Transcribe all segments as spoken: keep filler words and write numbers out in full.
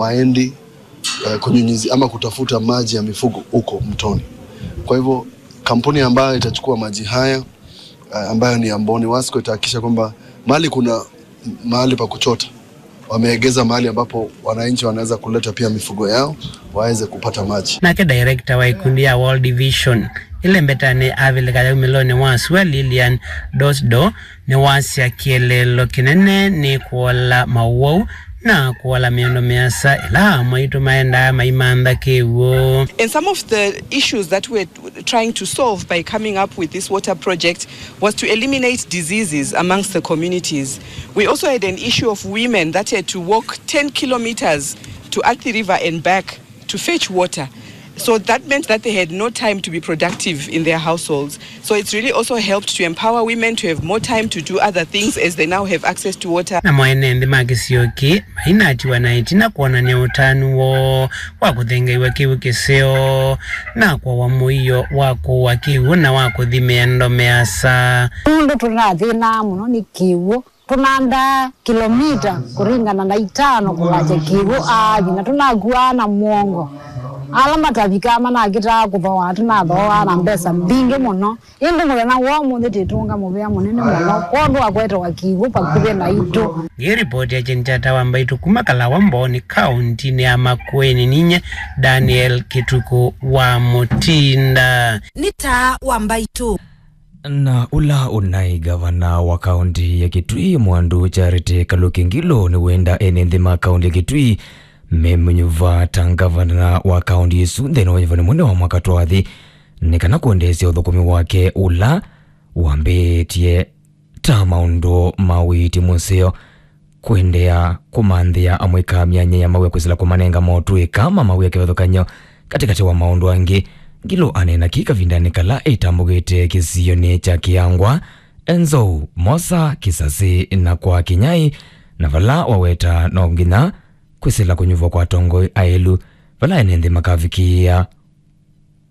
waendi, eh, kunyunyizi ama kutafuta maji ya mifugo huko mtoni. Kwa hivyo, kampuni ambayo itachukua maji haya, eh, ambayo ni ya Mboni Wasco, itahakikisha kwamba mahali kuna mahali pa kuchota, wameegeza mahali ambapo wananchi wanaweza kuleta pia mifugo yao waweze kupata maji. Nake director wa ikundi ya World Vision ĩla ĩmbetanĩ avilika yaumĩlonĩ wa sua, Lilian Dosdo, nĩwasya kĩeleelo kĩnene nĩ kũola maũwau na kũola mĩendo mĩasa ĩla amwe aitũ maendaa maimantha kĩw'ũ. And some of the issues that we're trying to solve by coming up with this water project was to eliminate diseases amongst the communities. We also had an issue of women that had to walk ten kilometers to Athi River and back to fetch water. So that meant that they had no time to be productive in their households. So it's really also helped to empower women to have more time to do other things as they now have access to water. Namo ene nthĩ ma kĩsio kĩĩ mainatiwa na ĩtina kwonany'a ũtanu woo wa kũthengeiwa kĩw'ũ kĩseo na kũawa mũio wa kũua kĩw'ũ na wa kũthi mĩendo mĩasa. Nũndũ tũnathĩnaa mũno nĩ kĩw'ũ, tũnandaa kilomita kũringana na itano kũlakya kĩw'ũ aathi, na tũnakuaa na mũongo. Ala matavikaa manakĩtaa kũthooa, tũnathooaa na mbesa mbingĩ mũno. Ĩndĩ mũthenya wa ũmũnthĩ twĩtũnga mũvea mũnene mũno kwondũ wa kwetewa kĩw'ũ vakuvĩ naitũ. Ngĩripoti ya Kyeni kya Ata wa Mbaitũ kuma Kalawa, Mboni kaũntinĩ ya Makueni, ninyie Daniel Kĩtukũ wa Mũtinda. Nĩ Taa wa Mbaitũ. Na ũla ũnaĩ ngavana wa kaũnti ya Kitui, Mwandu Charity Kaluki Ngilu, nĩwenda ene nthĩ ma kaũnti ya Kitui memũnyuva ta ngavana wa kaũnti ĩsu nthĩnĩ wa nyuvani mũnene wa mwaka twathi, nĩ kana kũendeesya ũthũkũmi wake ũla wambĩĩtye ta maũndũ ma ũiiti mũseo, kũendeea kũmanthĩa amũika myanya ya mawĩa kwĩsĩla kũmanenga motũĩka ma mawĩa kĩvathũkany'o katĩkatĩ wa maũndũ angĩ. Ngilu aneena kĩĩ kavindanĩ kala ĩtambũkĩte kĩsionĩ kya Kĩangwa, Enzou, Mosa, Kisasi na kwa Kinyai, na vala waweta no nginya kwĩsĩla kũnyuvwa kwa atongoi aĩlu vala ene nthĩ makavikĩĩa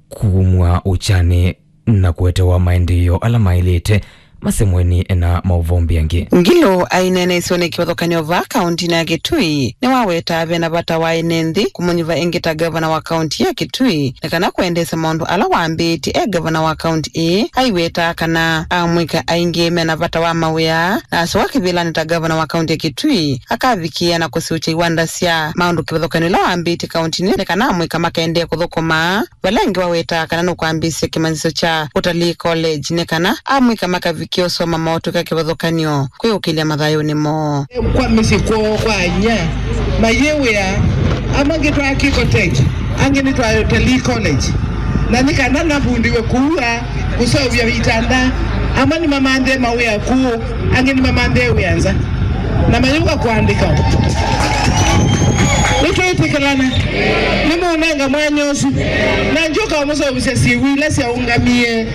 kumw'a ũkyanĩ na kũetewa maendeeo ala maĩlĩte. Masemweni na maũvoo mbingĩ. Ngilu aineena ĩsionĩ kĩvathũkany'o vaa kaũntinĩ ya Kitui, nĩwawetaa vena vata wa ene nthĩ kũmũnyuva ĩngĩ ta ngavana wa kaũnti ya Kitui, nĩ kana kũendeesya maũndũ ala wambĩĩtye e ngavana wa kaũnti ĩĩ. Aiwetaa kana amũika aingĩ mena vata wa mawĩa, na asyoka kĩvĩlanĩ ta ngavana wa kaũnti ya Kitui, akavikĩĩa na kũsiũkya iwanda sya maũndũ kĩvathũkany'o ila wambĩĩtye kaũntinĩ, nĩ kana amũika makaendee kũthũkũma. Vala ĩngĩ wawetaa kana nũkwambĩĩsya kĩmanyĩsyo kya Utalii College nĩ kana amũika makavikĩa ũsoma motũĩka kĩvathũkany'o kwĩũkĩlya mathayũnĩ moo. Kwa mĩsyĩ kwoo kwa inyia mayĩ wĩa, amwe angĩ twaa Kiko Tech, angĩ nĩtwaa Utalii College, na nĩ kana navundiwe kuua kũseũvya itanda. Amwe nĩmamanthĩe mawĩa kũũ, angĩ nĩmamanthĩe wĩa nza, na mayũka kũandĩka. Nĩtwĩtĩkĩlana, nĩmũnenga mwanya ũsu, na ngyũka ũmũseũvĩsya syĩw'ũ ila syaũngamie,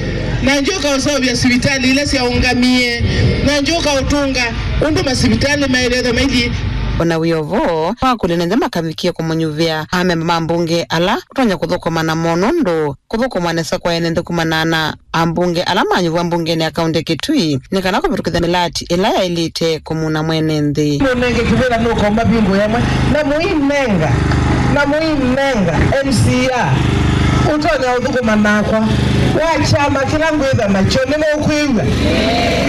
na ngyũka ũseũvya sivitalĩ ila syaũngamie, na ngyũka ũtũnga ũndũ masivitalĩ maĩlĩte maithi. O na wĩ o vo, nĩwakũlya nĩ nthĩ makavikĩe kũmũnyuvĩa amemba ma mbunge ala ũtonya kũthũkũma namo nũndũ kũthũkũma nesa kwa ene nthĩ kumana na ambunge ala manyuvwa mbungenĩ ya kaũnti ya Kitui nĩ kana kũvĩtũkĩthya mĩlati ĩla yaĩlĩte kũmuna mwene nthĩ. Mũnenge kĩvĩla nũkomba bingo yamwe, na mũinenga, na mũinenga M C A ũtonya ũthũkũma nakwa wa kyama kĩla ngwĩtha nakyo. Nĩmũkwĩw'a?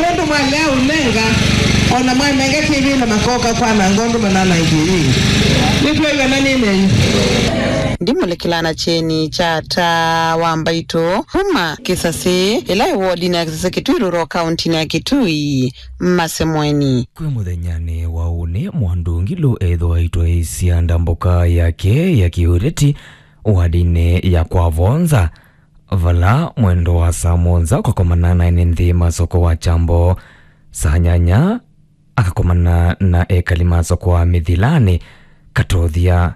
Nũndũ mwalea ũnenga, o na mwanenga kĩvĩla makoka kwananga ũndũ mananangie yĩngĩ. Nĩtwĩw'ana nĩ nenyu. Ndimũlĩkĩla na kyeni kya Taa wa Mbaitũ kuma Kĩsasĩ, ĩla ĩ wodinĩ ya Kĩsasĩ Kitui Rural, kaũntinĩ ya Kitui. Masemweni. Kwĩ mũthenyanĩ wa ũnĩ, Mwandu Ngilu ethĩwa aitwaĩĩsya ndambũka yake ya kĩũteti wadinĩ ya kwa Vonza, vala mwendo wa saa mũonza ũkakomana na ene nthĩ ma soko wa Kyambo, saa nyanya akakomana na ekali ma soko wa Mĩthilanĩ, Katothya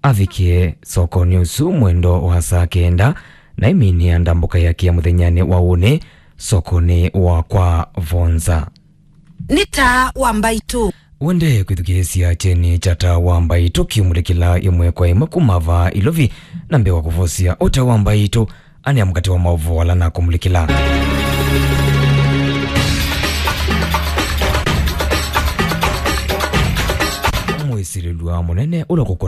avikie sokonĩ ũsu mwendo wa saa kenda, na ĩmini ya ndambũka yake ya mũthenyanĩ wa ũnĩ sokonĩ wa kwa Vonza. Nĩ Taa wa Mbaitũ. Wende kwĩthukĩĩsya kyeni kya Taa wa Mbaitũ kĩmũlĩkĩla ĩmwe kwa ĩmwe kuma vaa Ilovi, na mbee wa kũvosya o Taa wa Mbaitũ, anĩa mũkate wa maũvoo ala nakũmũlĩkĩla. Ĩsilĩlw'a mũnene ũla kũkũna